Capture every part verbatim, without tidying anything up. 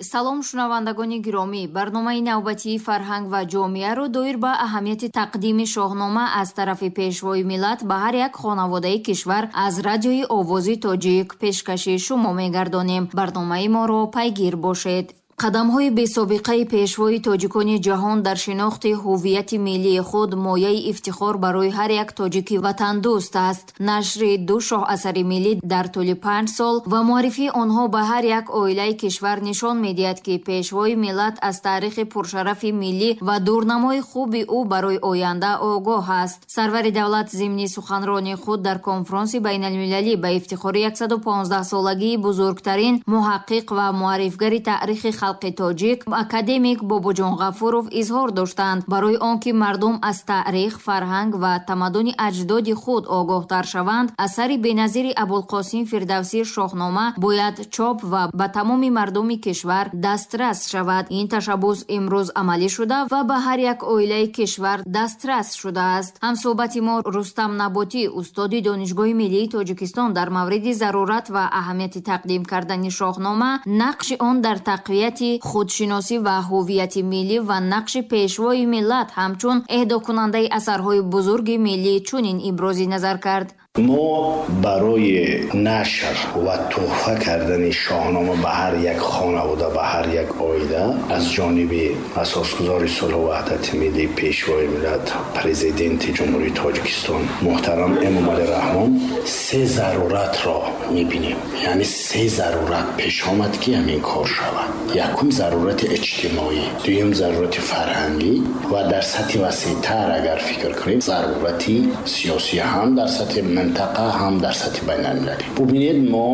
Салом, шунавандагони гиромӣ. Барномаи навбатии «Фарҳанг ва ҷомеаро» доир ба аҳамияти тақдими Шоҳнома аз тарафи Пешвои миллат ба ҳар як хонаводаи кишвар аз Радиои Овози Тоҷик пешкаши шумо мегардонем. Барномаи моро пайгир бошед. Қадамҳои бесобиқаи пешвои тоҷикони ҷаҳон дар шинохти ҳуввияти миллии худ мояи ифтихор барои ҳар як тоҷики ватандӯст аст. Нашри ду шоҳасари миллӣ дар тӯли панҷ сол ва муаррифии онҳо ба ҳар як оилаи кишвар нишон медиҳад, ки Пешвои миллат аз таърихи пуршарафи миллӣ ва дурнамои хуби ӯ барои оянда огоҳ аст. Сарвари давлат зимни суханронии худ дар конфронси байналмилалӣ ба ифтихори яксаду понздаҳсолагии бузургтарин муҳаққиқ ва муаррифгари таърихи халқи тоҷик, академик Бобоҷон Ғафуров изҳор доштанд: барои он ки мардум аз таърих, фарҳанг ва тамаддуни аҷдоди худ огоҳтар шаванд, асари беназири Абулқосим Фирдавсӣ, Шоҳнома, бояд чоп ва ба тамоми мардуми кишвар дастрас шавад. Ин ташаббус имрӯз амалӣ шуда ва ба ҳар як оилаи кишвар дастрас шудааст. Ҳамсӯҳбати мо Рустам Наботӣ, устоди Донишгоҳи миллии Тоҷикистон, дар мавриди зарурат ва аҳамияти тақдим кардани Шоҳнома, нақши он дар тақвияти худшиносӣ ва ҳуввияти миллӣ ва нақши Пешвои миллат ҳамчун эҳдокунандаи асарҳои бузурги миллӣ чунин ибрози назар кард. Мо барои нашр ва тӯҳфа кардани Шоҳнома ба ҳар як хонавода, ба ҳар як оила аз ҷониби асосгузори сулҳу ваҳдати миллӣ, Пешвои миллат, Президенти Ҷумҳурии Тоҷикистон муҳтарам Эмомалӣ Раҳмон се заруратро мебинем, яъне се зарурат пеш омад, ки ҳамин кор шавад. Якум, зарурати иҷтимоӣ, дуюм, зарурати фарҳангӣ ва дар сатҳи васеътар агар фикр кунем, зарурати сиёсӣ, ҳам дар сатҳи минтақа, ҳам дар сатҳи байналмилалӣ. Бубинед, мо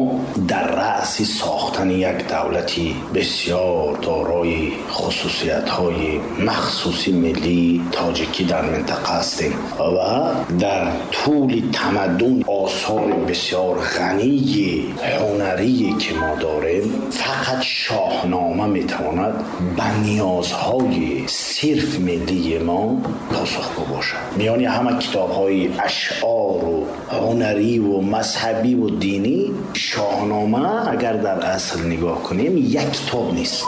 дар раъси сохтани як давлати бисёр дорои хусусиятҳои махсуси миллии тоҷикӣ дар минтақа ҳастем ва дар тӯли тамаддун осори бисёр ғании ҳунарие ки мо дорем, фақат Шоҳнома метавонад ба ниёзҳои сирф миллии мо посухгӯ бошад. Миёни ҳама китобҳои ашъору ҳунариву мазҳабиву динӣ Шоҳнома, агар дар асл нигоҳ кунем, як китоб нест.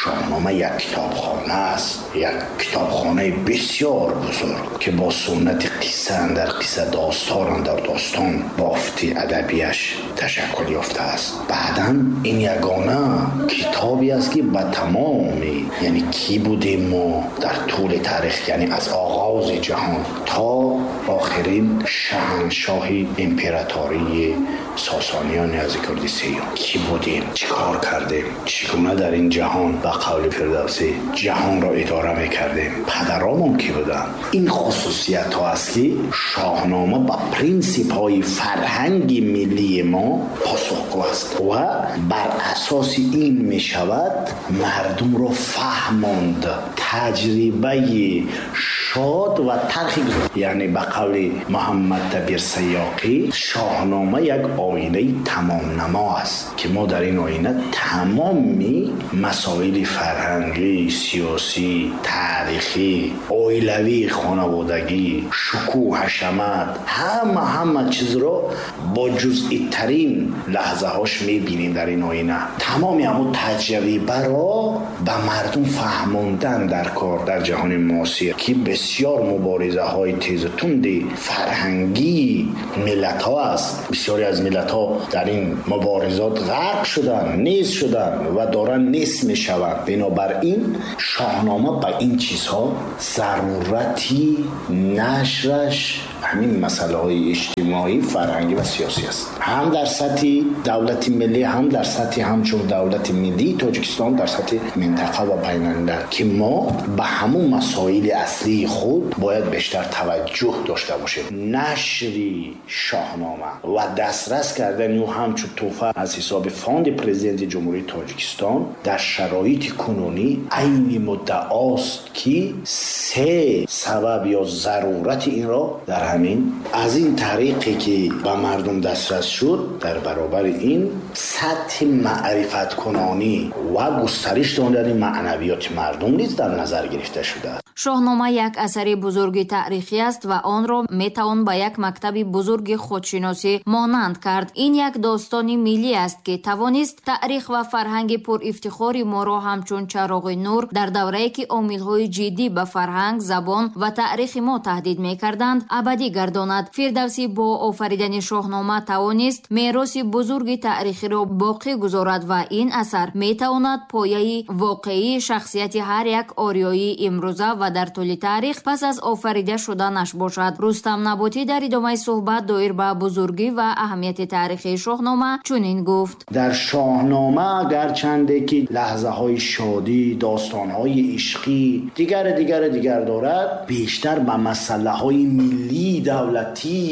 Шоҳнома як китобхона аст, як китобхонаи бисёр бузург, ки бо суннати қисса андар қисса, достон андар достон бофти адабияш ташаккул ёфтааст. Баъдан ин ягона китобе аст, ки ба тамоми, яъне кӣ будем мо дар тӯли таърих, яъне аз оғози ҷаҳон то охирин шаҳаншоҳи императории Сосониёни Яздигурди Сеюм, кӣ будем, чӣ кор кардем, чӣ гуна дар ин ҷаҳон, ба қавли Фирдавсӣ, ҷаҳонро идора мекардем, падаромон кӣ буданд. Ин хусусиятҳо аст, ки Шоҳнома ба принсипҳои фарҳанги миллии мо посухгӯ аст ва бар асоси ин мешавад мардумро фаҳмонд таҷрибаи шод ва талхи, яъне ба қавли Муҳаммад Дабир Сайёқӣ, Шоҳнома як оинаи тамомнамо аст, ки мо дар ин оина тамоми масоили фарҳангӣ, сиёсӣ, таърихӣ, оилавӣ, хонаводагӣ, шукӯҳ, ҳашамат, ҳама ҳама чизро бо ҷузъитарин лаҳзаҳош мебинем дар ин оина. Тамоми ҳамун таҷрибаро ба мардум фаҳмондан дар кор дар ҷаҳони муосир, ки бисёр муборизаҳои тезу тунди фарҳангии миллатҳо аст. Бисёре аз миллатҳо дар ин муборизот ғарқ шуданд, нест шуданд ва доранд нест мешаванд. Бинобар ин Шоҳнома ба ин чизҳо зарурати нашраш ҳамин масъалаҳои иҷтимоӣ, фарҳангӣ ва сиёсӣ аст, ҳам дар сатҳи давлати миллӣ, ҳам дар сатҳи ҳамчун давлати миллии Тоҷикистон дар сатҳи минтақа ва байналмилал, ки мо ба ҳамун масоили аслии худ бояд бештар таваҷҷӯҳ дошта бошем. Нашри Шоҳнома ва дастрас кардани ӯ ҳамчун тӯҳфа аз ҳисоби фонди Президенти Ҷумҳурии Тоҷикистон дар шароити кунунӣ айни муддаост, ки се сабаб ё зарурати инро дар ҳамин аз ин тариқе ки ба мардум дастрас шуд, дар баробари ин сатҳи маърифаткунонӣ ва густариш додани маънавиёти мардум низ дар назар гирифта шудааст. Шоҳнома як асари бузурги таърихӣ аст ва онро метавон ба як мактаби бузурги худшиносӣ монанд кард. Ин як достони миллӣ аст, ки тавонист таърих ва фарҳанги пурифтихори моро ҳамчун чароғи нур дар даврае ки омилҳои ҷиддӣ ба фарҳанг, забон ва таърихи мо таҳдид мекарданд, абадӣ гардонад. Фирдавсӣ бо офаридани Шоҳнома тавонист мероси бузурги таърихиро боқӣ гузорад ва ин асар метавонад пояи воқеии шахсияти ҳар як ориёии имрӯза ва дар тӯли таърих пас аз офарида шуданаш бошад. Рустам Наботӣ дар идомаи суҳбат доир ба бузургӣ ва аҳамияти таърихии Шоҳнома чунин гуфт: дар Шоҳнома гарчанде ки лаҳзаҳои шодӣ, достонҳои ишқӣ дигар дигар дигар дорад, бештар ба масъалаҳои миллӣ давлатӣ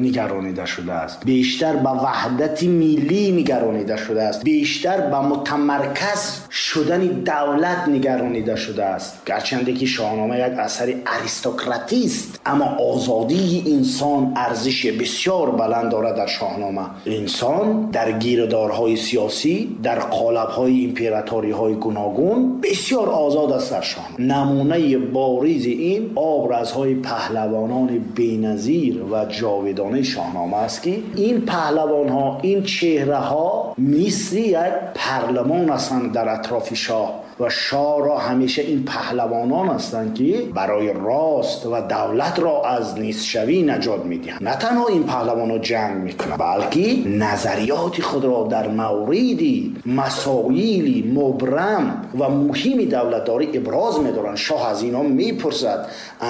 нигаронида шудааст, бештар ба ваҳдати миллӣ нигаронида шудааст, бештар ба мутамарказ шудани давлат нигаронида шудааст. Гарчанде ки Шоҳнома як асари аристократӣ аст, аммо озодии инсон арзиши бисёр баланд дорад. Дар Шоҳнома инсон дар гирдорҳои сиёсӣ, дар қолабҳои императориҳои гуногун бисёр озод аст. Дар Шоҳнома намунаи боризи ин образҳои паҳлавонони беназир ва ҷовидонаи Шоҳнома аст, ки ин паҳлавонҳо, ин чеҳраҳо мисли як парлумон ҳастанд дар атрофи шоҳ ва шоҳ ро ҳамеша ин паҳлавонон ҳастанд, ки барои рост ва давлат ро аз нестшавӣ наҷот медиҳанд. На танҳо ин паҳлавонҳо ҷанг мекунанд, балки назариёти худро дар мавриди масоили мубрам ва муҳими давлатдорӣ иброз медоранд. Шоҳ аз инҳо мепурсад,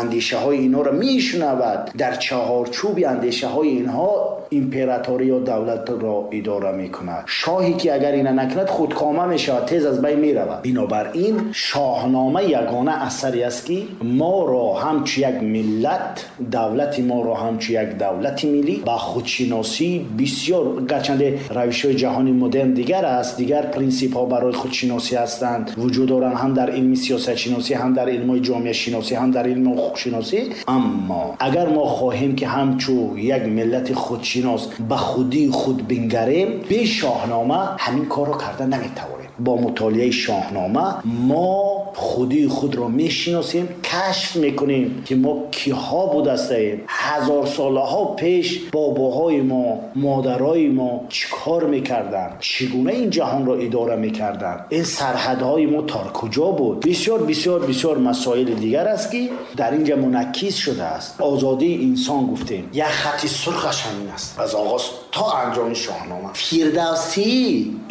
андешаҳои инҳоро мешунавад, дар чаҳорчӯби андешаҳои инҳо императорӣ ё давлатро идора мекунад. Шоҳе ки агар ина накунад худкома мешавад, тез аз байн меравад. Бинобар ин Шоҳнома ягона асаре аст, ки моро ҳамчун як миллат, давлати моро ҳамчун як давлати миллӣ ба худшиносӣ бисёр, гарчанде равишҳои ҷаҳони модерн дигар аст, дигар принсипҳо барои худшиносӣ ҳастанд, вуҷуд доранд ҳам дар илми сиёсатшиносӣ, ҳам дар илмҳои ҷомеашиносӣ, ҳам дар илми ҳуқуқшиносӣ. Аммо агар мо хоҳем ки ҳамчун як миллати худшинос ба худии худ бингарем, бе Шоҳнома ҳамин корро карда наметавонем. Бо мутолиаи Шоҳнома мо худии худро мешиносем, кашф мекунем ки мо киҳо будастаем, ҳазор солаҳо пеш бобоҳои мо, модарои мо чӣ кор мекарданд, чӣ гуна ин ҷаҳонро идора мекарданд, ин сарҳадҳои мо то куҷо буд. Бисёр бисёр бисёр масоили дигар аст, ки дар инҷа мунакис шудааст. Озодии инсон гуфтем, як хати сурхаш ҳамин аст аз оғоз то анҷоми Шоҳнома. Фирдавсӣ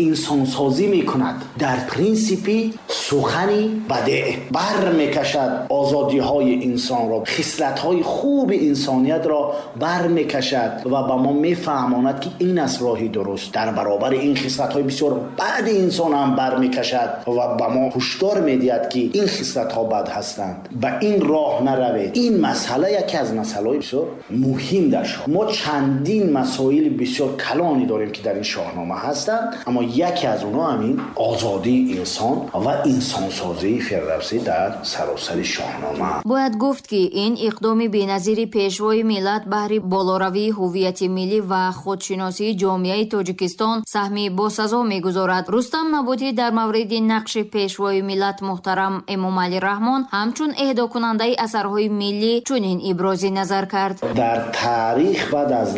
инсонсозӣ мекунад дар принсипи сухани бадеъ, бар мекашад озодиҳои инсонро, хислатҳои хуби инсониятро бар мекашад ва ба мо мефаҳмонад, ки ин аст роҳи дуруст. Дар баробари ин хислатҳои бисёр бади инсон ҳам бар мекашад ва ба мо ҳушдор медиҳад, ки ин хислатҳо бад ҳастанд, ба ин роҳ наравед. Ин масъала яке аз масъалаҳои бисёр муҳим дар шоҳ. Мо чандин масоили бисёр калоне дорем, ки дар ин Шоҳнома ҳастанд, аммо яке аз онҳо ҳамин озодии инсон ва инсонсозии Фирдавсӣ дар саросари Шоҳнома. Бояд гуфт, ки ин иқдоми беназири пешвои миллат баҳри болоравии ҳуввияти миллӣ ва худшиносии ҷомеаи Тоҷикистон саҳми босазо мегузорад. Рустам Наботӣ дар мавриди нақши пешвои миллат муҳтарам Эмомалӣ Раҳмон ҳамчун эҳдокунандаи асарҳои миллӣ чунин ибрози назар кард: дар таърих баъд аз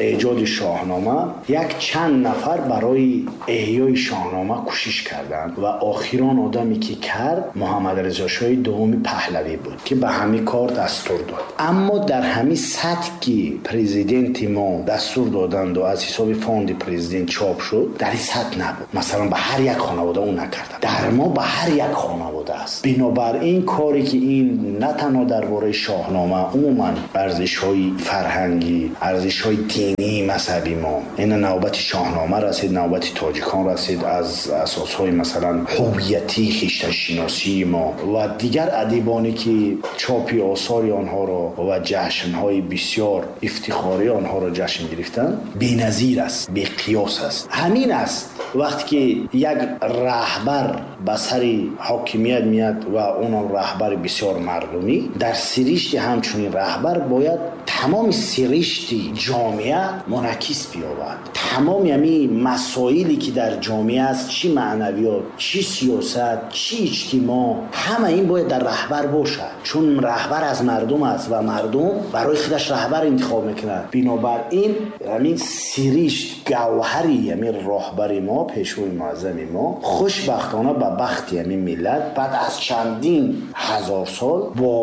эҷоди Шоҳнома як чанд нафар барои эҳёи Шоҳнома кӯшиш карданд ва охирон одаме ки кард Муҳаммад Ризо шоҳи дуюми Паҳлавӣ буд, ки ба ҳамин кор дастур дод. Аммо дар ҳамин сатҳ ки президенти мо дастур доданд ва аз ҳисоби фонди президент чоп шуд, дар ин сатҳ набуд. Масалан ба ҳар як хонавода ӯ накард, дар мо ба ҳар як хонавода аст. Бинобар ин коре ки ин на танҳо дар бораи Шоҳнома, умуман арзишҳои фарҳангӣ, арзишҳои динӣ, мазҳаби мо, ин навбати Шоҳнома расид, навбати тоҷикон расид, аз асосҳои масалан ҳуввиятӣ, хештаншиносии мо ва дигар адибоне ки чопи осори онҳоро ва ҷашнҳои бисёр ифтихории онҳоро ҷашн гирифтанд, беназир аст, беқиёс аст. Ҳамин аст вақте ки як раҳбар ба сари ҳокимият меяд ва онам раҳбари бисёр мардумӣ, дар сиришти ҳамчунин раҳбар бояд тамоми сиришти ҷомеа мунъакис биёбад. Тамоми ҳамин масоиле ки дар ҷомеа аст, чӣ маънавиёт, чӣ сиёсат, чӣ иҷтимоъ, ҳама ин бояд дар раҳбар бошад, чун раҳбар аз мардум аст ва мардум барои худаш раҳбар интихоб мекунад. Бинобар ин ҳамин сиришт, гавҳари ҳамин роҳбари мо, пешвои муаззами мо, хушбахтона ба бахти ҳамин миллат баъд аз чандин ҳазор сол бо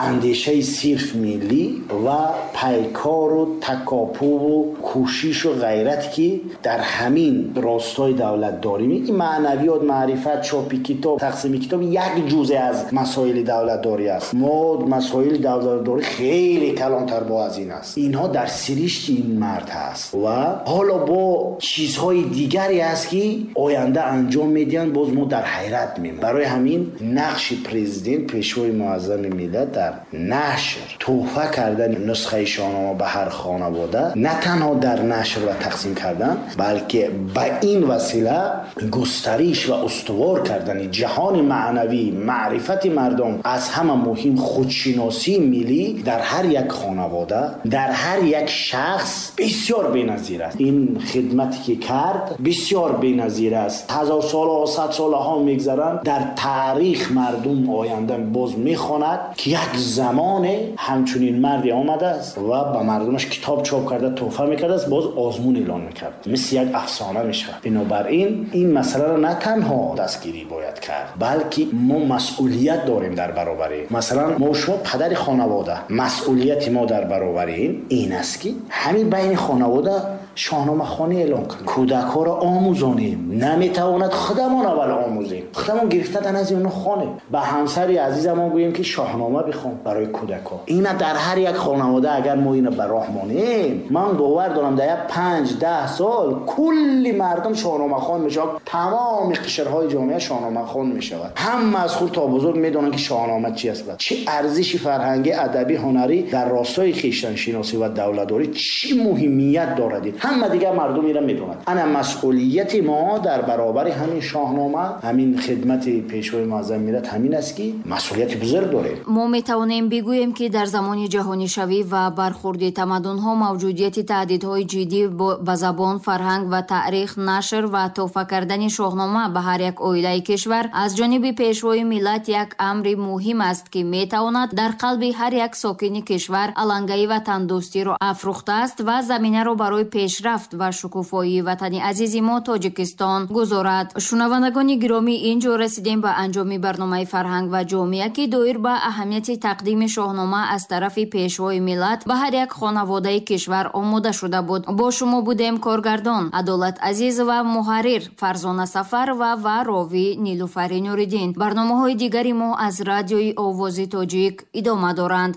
андешаи сирф миллӣ ва пайкору такопуву кӯшишу ғайрат ки дар ҳамин ростои давлатдорӣ, ин маънавиёт, маърифат, чопи китоб, тақсими китоб як ҷузъе аз масоили давлатдорӣ аст. Мо масоили давлатдорӣ хеле калонтар бо аз ин аст. Инҳо дар сиришти ин мард ҳаст ва ҳоло бо чизҳои дигаре аст ки оянда анҷом медиҳанд, боз мо дар ҳайрат мемонем. Барои ҳамин нақши президент, пешвои муаззами миллат дар нашр, туҳфа кардани нусхаи шоҳнома ба ҳар хонавода, на танҳо дар нашр ва тақсим кардан, балки ба ин васила густариш ва устувор кардани ҷаҳони маънавӣ, маърифати мардум, аз ҳама муҳим худшиносии миллӣ дар ҳар як хонавода, дар ҳар як шахс бисёр беназир аст. Ин хидмате ки кард бисёр беназир аст. Ҳазор солҳо, сад солҳо мегзаранд, дар таърих мардум оянда боз мехонад ки як замоне ҳамчунин марде омадааст ва ба мардумаш китоб чоп карда туҳфа мекардааст, боз озмун эълон мекард, мисли як афсона мешавад. Бинобар ин ин масъаларо на танҳо дастгирӣ бояд кард, балки мо масъулият дорем дар баробари. Масалан, мо шумо падари хонавода, масъулияти мо дар баробари ин ин аст ки ҳамин байни хонавода шоҳномахонӣ эълон кунем, кӯдакҳоро омӯзонем. Наметавонад худамон аввал омӯзем, худамон гирифта дар назди онҳо хонем, ба ҳамсари азизамон гӯем ки шоҳнома бихон барои кӯдакҳо. Ина дар ҳар як хонавода агар мо ина ба роҳ монем, ман бовар дорам дар як панҷ даҳ сол кулли мардум шоҳномахон мешавад, тамоми қишрҳои ҷомеа шоҳномахон мешавад. Ҳама аз хурд то бузург медонанд ки шоҳнома чи аст ва чӣ арзиши фарҳангӣ, адабӣ, ҳунарӣ дар ростои хештаншиносӣ ва давлатдорӣ чӣ муҳимият дорад. Ҳама дигар мардум инро медонанд. Ана масъулияти мо дар баробари ҳамин шоҳнома, ҳамин хидмати пешвои муаззами миллат ҳамин аст ки масъулияти бузург дорем. Мо метавонем бигӯем ки дар замони ҷаҳонишавӣ ва бархурди тамаддунҳо мавҷудияти таҳдидҳои ҷиддӣ ба забон, фарҳанг ва таърих, нашр ва туҳфа кардани шоҳнома ба ҳар як оилаи кишвар аз ҷониби пешвои миллат як амри муҳим аст ки метавонад дар қалби ҳар як сокини кишвар алангаи ватандӯстиро афрӯхтааст ва заминаро барои пешрафт ва шукуфоии ватани азизи мо Тоҷикистон гузорад. Шунавандагони гиромӣ, инҷо расидем ба анҷоми барномаи фарҳанг ва ҷомеа ки доир ба аҳамияти тақдими шоҳнома аз тарафи пешвои миллат ба ҳар як хонаводаи кишвар омода шуда буд. Бо шумо будем коргардон Адолат Азизова, муҳаррир Фарзона Сафарова ва ровӣ Нилуфари Нуриддин. Барномаҳои дигари мо аз радиои Овози Тоҷик идома доранд.